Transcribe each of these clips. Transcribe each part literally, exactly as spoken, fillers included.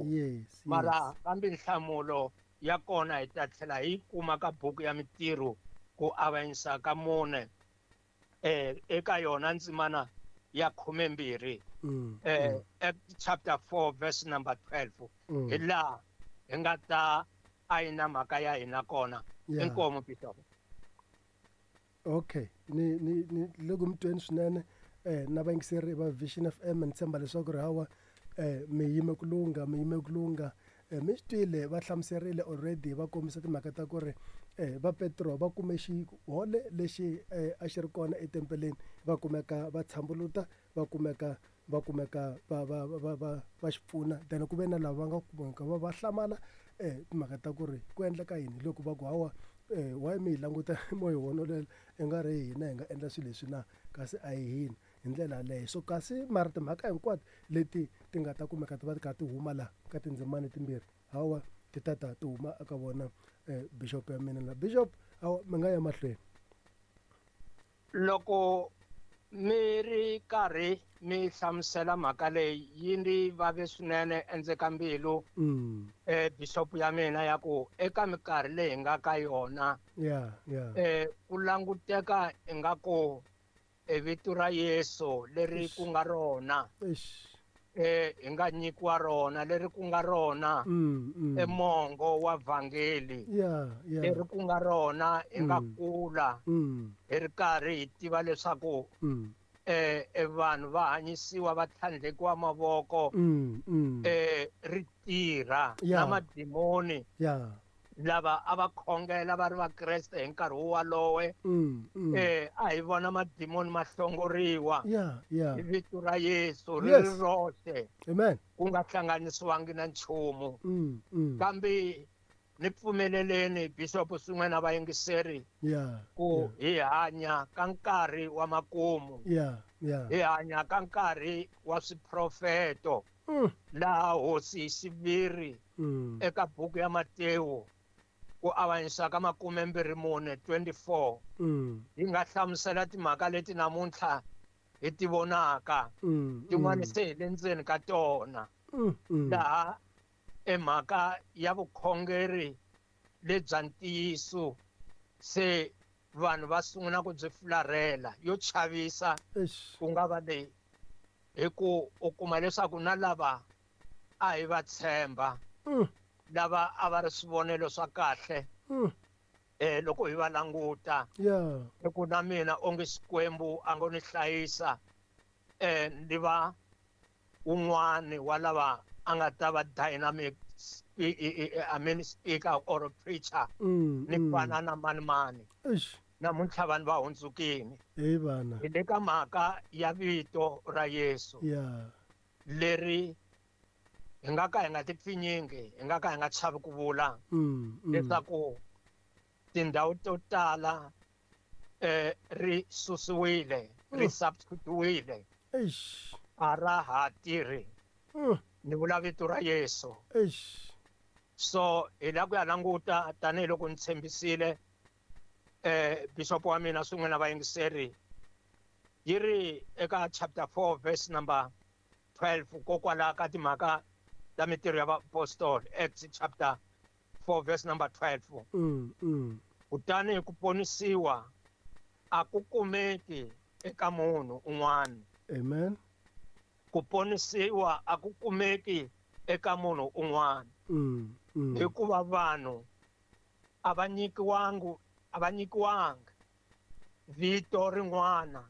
Yes. Mara yes. Kambe nhlamulo ya kona hi ta tlhela hi kuma ka buku ya Mitirho ku avanyisa ka mune eh eka yona ndzimana ya khumembirhi Mm, eh mm, Act chapter four verse number twelve mm. hi laha hi nga ta ayina mhaka ya hina kona. Yeah. Inkomu, bishop. Okay, ni ni ni le ku mi tweni swinene eh na vayingiseri va Vision F M. Ni tshemba leswaku ri hawa eh mi yime ku lungha, mi yime ku lungha. eh mi swi twile, va hlamuserile already, va kombisa timhaka ta ku ri eh va Petro va kume xihole lexi eh a xi ri kona etempeleni, va kumeka va tshambuluta, va kumeka va kumeka va va va va va xi pfuna. Then ku ve na lava va nga kumeka va va hlamala eh timhaka ta ku ri ku endleka yini, loko va ku hawa eh why mi hi languta mo hi honolela i nga ri hina hi nga endla swilo leswi na, kasi a hi hina hi ndlela yaleyo. So kasi mara timhaka hinkwato leti ti nga ta kumeka ti va ti kha ti huma laha ka tindzimana timbirhi, hawa ti ta ta ti huma eka vona eh bishop ya mina la. Bishop, hawa mi nga ya mahlweni. Loko mi ri karhi mi hlamusela mhaka leyi, yi ndzi vave swinene endzeni ka mbilu mm. eh bishop ya mina, ya ku eka minkarhi leyi hi nga ka yona yeah yeah eh ku languteka ingaku e vito ra Yesu leri ku nga rona Eish. eh hi nga nyikiwa rona, leri ku nga rona mm, mm. emongo wa vhangeli yeah yeah leri ku nga rona hi nga Mm. kula mm, hi ri karhi hi tiva leswaku mm. eh e vanhu va hanyisiwa, va tlhandlekiwa mavoko Mm, mm. eh ri tirha Yeah. na madimoni yeah lava a va khongela va ri vakreste hi nkarhi walowe mm, mm. eh a hi vona madimoni ma hlongoriwa yeah yeah hi vito ra Yesu ri Yes. ri roxe, Amen. ku nga hlanganisiwangi na nchumu. mm, mm. Kambe ni pfumeleleni, bishop swin'we na vayingiseri, yeah ku hi hanya ka nkarhi wa makumu, yeah yeah hi hanya ka nkarhi wa swiprofeto mm. laha hosi hi xiviri Mm. eka buku ya Matewu ku avanyisa ka makumembirhi mune twenty-four Mm. yi nga hlamusela timhaka leti namuntlha hi ti vonaka Mm. tin'wana mm. se hi le ndzeni ka tona, Mm. Mm. laha emhaka ya vukhongeri lebya ntiyiso se vanhu va sungula ku byi fularhela. Yo chavisa Eish. ku nga va leyi, hi ku u kuma leswaku na lava a hi va tshemba, Mm. lava a va ri swivonelo swa kahle Mm. eh loko hi va languta, yeah hi ku na mina onge Xikwembu a ngo ni hlayisa eh ni va un'wani wa lava a nga ta va dynamic spe- I mean speaker or preacher mm. ni mm. fana na mani mani. Eish. Namuntlha vanhu va hundzukile. Hey vana. Hi le ka mhaka ya vito ra Yesu yeah leri hi nga ka hi nga ti pfinyingi, hi nga ka hi nga chavi ku vula mm. Mm. leswaku tindhawu to tala eh ri susiwile, ri Mm. substitutiwile, Eish. a ra ha tirhi. Mm. Ni vula vito ra Yesu. Eish. So hi la ku ya languta tanihiloko ni tshembisile eh bishop wa mina swin'we na vayingiseri, yi ri eka chapter four verse number twelve, kokwalaho ka timhaka ta Mitirho ya Vaapostoli, Acts chapter four verse number twelve: Mm. Mm. "Kutani ku ponisiwa a ku kumeki eka munhu un'wana." Amen. Ku ponisiwa a ku kumeki eka munhu un'wana, Mm. Mm. hikuva vanhu a va nyikiwangi a va nyikiwanga vito rin'wana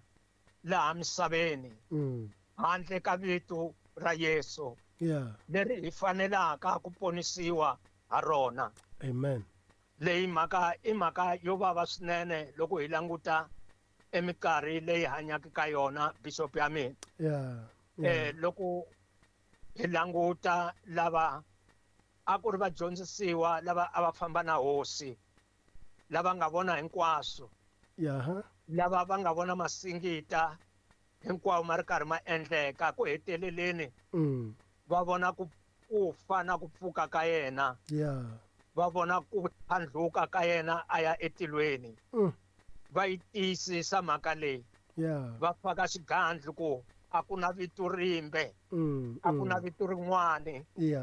laha misaveni Mm. handle ka vito ra Yesu yeah leri hi fanelaka ku ponisiwa ha rona. Amen. Leyi mhaka i mhaka yo vava swinene loko hi languta eminkarhi leyi hanyaka ka yona, bishop ya mina. yeah yeah eh loko hi languta lava a ku ri vadyondzisiwa lava a va famba na hosi, lava nga vona hinkwaswo, yeah lava va nga vona masingita hinkwawo ma ri karhi ma endleka, ku heteleleni mm. va vona ku ku fa na ku pfuka ka yena, yeah va vona ku tlhandluka ka yena a ya etilweni, mm. va yi tiyisisa mhaka leyi, yeah va faka xigandlu ku a ku na vito rimbe, mm. a ku na mm. vito rin'wani yeah